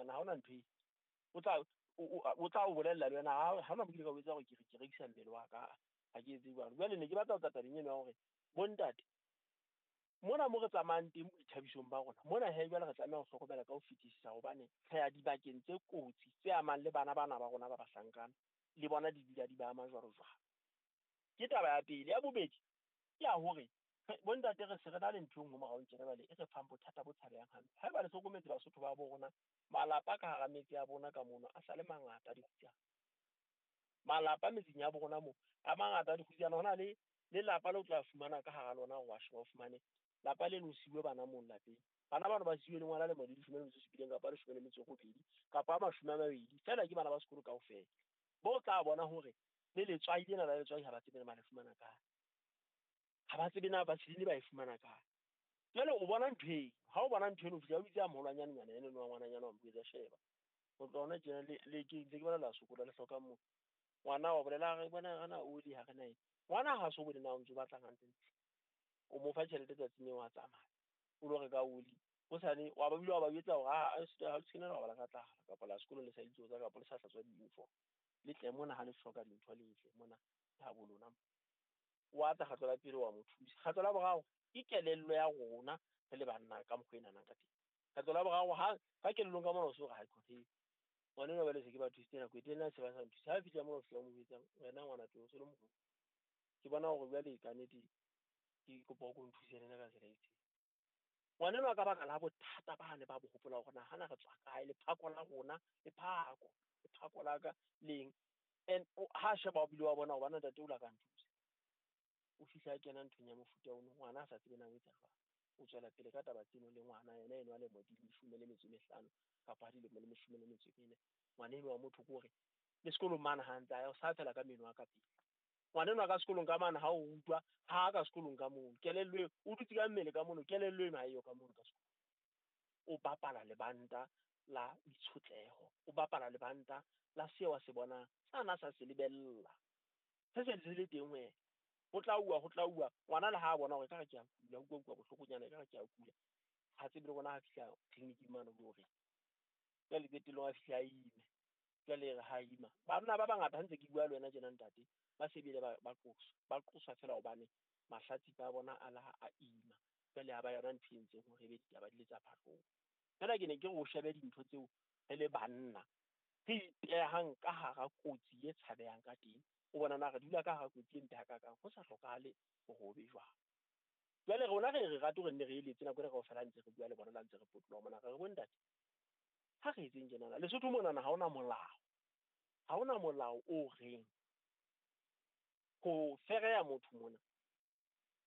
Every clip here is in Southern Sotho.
moriana, ha hona ntho e. O tla o bolella le wena, ha hona mo kile ka o etsa hore ke rekisa mmele wa ka, ha ke etse jwalo. Jwale ne ke batla ho tla tabeng eno ya hore bontate mona mo re tsamayang teng boithabisong ba rona mona, he, jwale re tlameha ho hlokomela ka ho fetisisa, hobane re ya dibakeng tse kotsi tse amang le bana bana ba rona ba bahlankana, le bona di dula di ba ama jwalo jwalo. Ke taba ya pele. Ya bobedi ke ya hore bontate re se re na le ntho e nngwe morao tjena jwale e re fang bothata bo tshabehang hampe. Haeba le hlokometse, Basotho ba bo rona, malapa ka hara metse ya bona ka mono a sa le mangata a dikgutsana. Malapa metseng ya bo rona moo a mangata a dikgutsana. Ho na le lelapa le o tla fumana ka hara lona, wa sheba, o fumane lapa leno o siuwe bana mono lapeng. Bana bano ba siuwe le ngwana lemo di 17 kapa 18 kapa a 20, feela ke bana ba sekolo kaofela. Bo tla bona hore le letswai lena la letswai ha ba tsebe ba le fumana kae, ha ba tsebe na vaseline ba e fumana kae. Jwale o bona ntho eo, ha o bona ntho eno, o fihla o bitse a moholwanyane nyana eno wa ngwananyana, wa mo jwetsa, sheba ho tloha hona tjena le ke ntse ke bona le a sokola, le hloka mo ngwana wa bolela, re bona re na oli, ha re na eng. Ngwana ha so bone na o ntso batlang hantle, o mo fa tjhelete tsatsing leo, wa tsamaya o lo reka oli hosane, wa ba bile wa ba jwetsa hore ha le se la robala ka tlala, kapa la sekolo le sa itlotsa, kapa le sa hlatswa di-uniform, le tle mona ha le hloka dintho, le tle mona ke ha bo lona. Wa tla kgetlo la pele, wa mo thusa. Kgetlo la boraro, ke kelello ya rona re le banna ka mokgwa e nahanang ka teng. Kgetlo la boraro, ha ka kelellong ka mona o so re ha ke ngwana enwa, jwale se ke ba thusitse nako e telele, se ba sa nthuse. Ha fihla mona, o fihla o mo jwetsa, wena ngwana tlo o se le moholo, ke bona hore jwale ka nnete ke kopa o ko nthuse le nna ka tsela e itseng. Ngwana enwa, ka baka la bothata bane ba bo hopola hore nahana re tswa kae, lephako la rona, lephako la ka leng, and ha sheba o bile wa bona hore bana ntate o la ka nthusa. O fihla a kena nthong ya mofuta ono, ngwana a sa tsebe na o etsa jwang. O tswela pele ka taba tseno le ngwana yena eno a lemo di 15 kapa dilemo le 14. Ngwana eno wa motho ke hore le sekolong mane ha ntse a ya, o sa fela ka meno a ka pele. Ngwana enwa ka sekolong ka mane ha o rutwa, ha ka sekolong ka mono, kelello eo o dutse ka mmele ka mono, kelello eno ha eyo ka mono ka sekolong. O bapala lebanta la itshotleho, o bapala lebanta la seo a se bonang, sana sa se lebella, se se se le teng ho yena. Ho tla uwa ngwana le ha bona hore ekare ke a kula, utlwa bohlokonyana, ekare ke a kula, ha tsebe le rona. Ha fihla clinic-ing mane o lo reng jwale, qetellong a fihla a ime. Jwale re ha ima, banna ba bangata, ha ntse ke bua le wena tjena ntate, ba se bile ba qoswa, ba qoswa feela hobane mahlatsipa a bona a la a ima. Jwale ha ba yona ntho e entseng hore ebe ditaba di le tsa phahlong. Fela ke ne ke re o shebe dintho tseo re le banna re ipehang ka hara kotsi e tshabehang ka teng. O bona na re dula ka hara kotsi e mpe hakakang, ho sa hlokahale hore ho be jwalo. Jwale rona re rate hore nne re eletse nako ena kaofela, ha ntse re bua le bona, la ntse re potoloha mona, re re bontate, ha re etseng tjenana. Lesotho monana ha hona molao, ha hona molao o reng ho fereya motho mona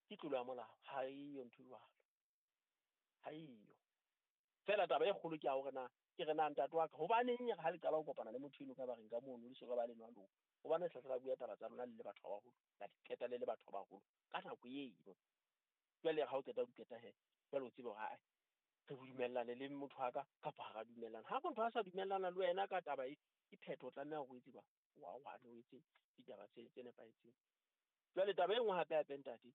ke tlolo ya molao. Ha eyo ntho e jwalo, ha eyo. Feela taba e kgolo ke ya hore na ke re na ntate wa ka, hobaneng ha le qala ho kopana le motho eno ka bareng ka mono, le soka ba le nwa lona, hobane hlahla la bua taba tsa lona le le batho ba baholo, la di qeta le le batho ba baholo ka nako eno. Jwale ha o qeta ho qeta, he, jwale o tsebe hore ae re dumellane le motho wa ka kapa ha ra dumellana. Ha motho a sa dumellana le wena ka taba e, ke phetho, o tlameha hore o etse jwang, wa wane o etse ditaba tse nepahetseng. Jwale taba e nngwe hape hape ntate,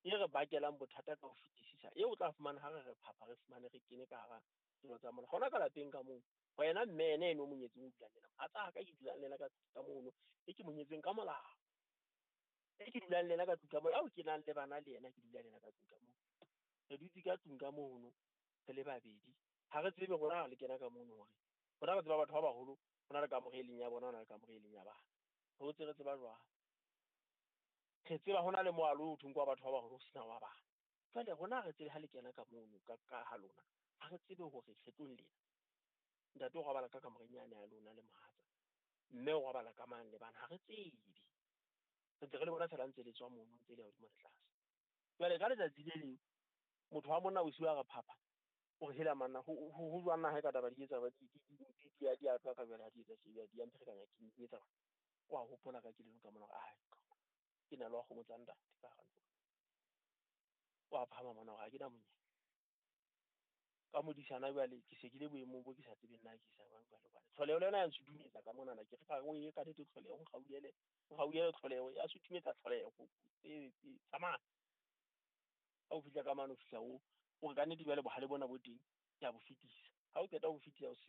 e re bakelang bothata ka ho fetisisa, eo o tla fumana ha re re phapha, re fumane re kene ka hara dilo tsa mona hona ka lapeng ka moo, wena mme ene eno o monyetseng, o dulang le ena, mohatsa ka ke dulang le ena ka mono, e ke monyetseng ka molao, e ke dulang le ena ka tlung ka moo, ao ke nang le bana le yena, ke dula le ena ka tlung ka moo, re dutse ka tlung ka mono re le babedi. Ha re tsebe rona ha le kena ka mono hore rona re tseba batho ba baholo, ho na le kamore e leng ya bona, ho na le kamore e leng ya bana. Re hotse re tseba jwang, re tseba ho na le moalo o thweng ke wa batho ba baholo, ho sena wa bana. Jwale rona ha re tsebe ha le kena ka mono ka ha lona, ha re tsebe hore kgetlong lena ntate o robala ka kamoreng yane ya lona le mohatsa, mme o robala ka mang le bana. Ha re tsebe, re ntse re le bona fela ntse le tswa mono, ntse le ya hodimo le tlase. Jwale ka letsatsi le leng motho wa monna bosiu a re phapha, o re hela manna, ho jwang na ha e ka taba di etsa di a tloha ka jwale, ha di etsa tje di a mpherekanya, ke etsa wa hopola ka kelellong ka mona hore ai ke na le wa kgomo tsa ntate ka hara ntlo. Wa phahama mona hore ha ke na monyetla ka modisana. Jwale ke se ke le boemong bo ke sa tsebeng na ke isa jwang. Jwale hobane tlholeho le yona ya nsutumetsa ka monana, ke re ka o e ka nnete, tlholeho nkgauhele, nkgauhele, tlholeho ya sutumetsa, tlholeho e tsamaya. Ha o fihla ka mane, o fihla o re ka nnete jwale bohale bona bo teng ke a bo fetisa. Ha o qeta ho fetisa hoseng.